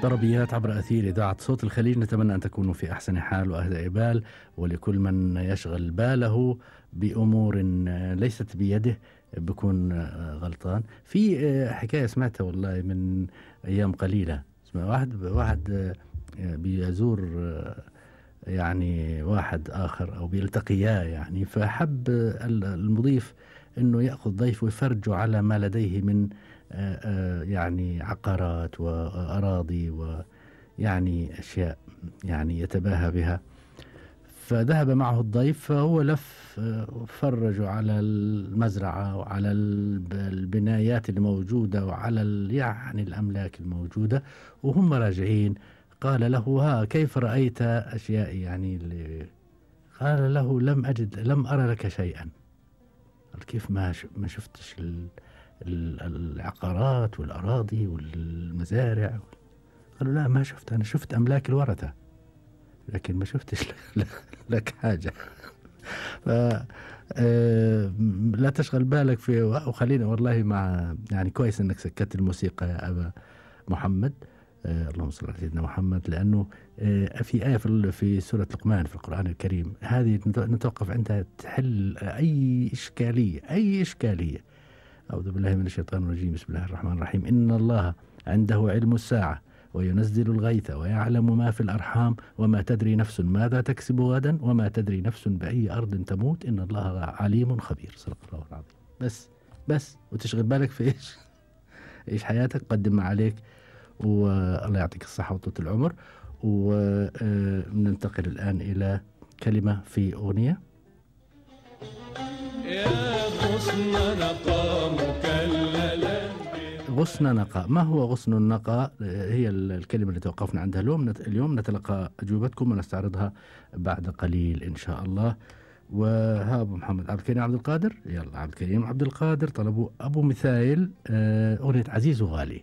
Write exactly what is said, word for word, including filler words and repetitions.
طربيات عبر أثير إذاعة صوت الخليج، نتمنى أن تكونوا في أحسن حال وأهدى بال، ولكل من يشغل باله بأمور ليست بيده بكون غلطان. في حكاية سمعتها والله من أيام قليلة، اسمها واحد واحد بيزور يعني واحد آخر أو بيلتقياه يعني، فحب المضيف أنه يأخذ ضيف ويفرجه على ما لديه من يعني عقارات وأراضي ويعني أشياء يعني يتباهى بها. فذهب معه الضيف، فهو لف فرجوا على المزرعة وعلى البنايات الموجودة وعلى يعني الأملاك الموجودة، وهم راجعين قال له: ها كيف رأيت أشياء يعني اللي قال له: لم أجد لم أرى لك شيئا. قال: كيف ما ما شفتش العقارات والأراضي والمزارع؟ قالوا: لا ما شفت، أنا شفت أملاك الورثة لكن ما شفتش لك حاجة. ف لا تشغل بالك في. وخلينا والله مع يعني كويس أنك سكت الموسيقى يا أبا محمد، آه اللهم صل على سيدنا محمد، لأنه آه في آية في, في سورة لقمان في القرآن الكريم، هذه نتوقف عندها تحل أي إشكالية أي إشكالية. أعوذ بالله من الشيطان الرجيم، بسم الله الرحمن الرحيم. إن الله عنده علم الساعة وينزل الغيث ويعلم ما في الأرحام وما تدري نفس ماذا تكسب غدا وما تدري نفس بأي أرض تموت إن الله عليم خبير. صدق الله العظيم. بس بس وتشغل بالك في إيش إيش حياتك، قدم ما عليك، والله يعطيك الصحة وطولة العمر. وننتقل الآن إلى كلمة في أغنية. يا غصن نقى مكللا. غصن نقى، ما هو غصن النقى؟ هي الكلمة اللي توقفنا عندها اليوم. اليوم نتلقى أجوبتكم ونستعرضها بعد قليل إن شاء الله. وها أبو محمد عبد الكريم عبد القادر، يلا عبد الكريم عبد القادر طلبوا أبو مثايل أغنية عزيز وغالي.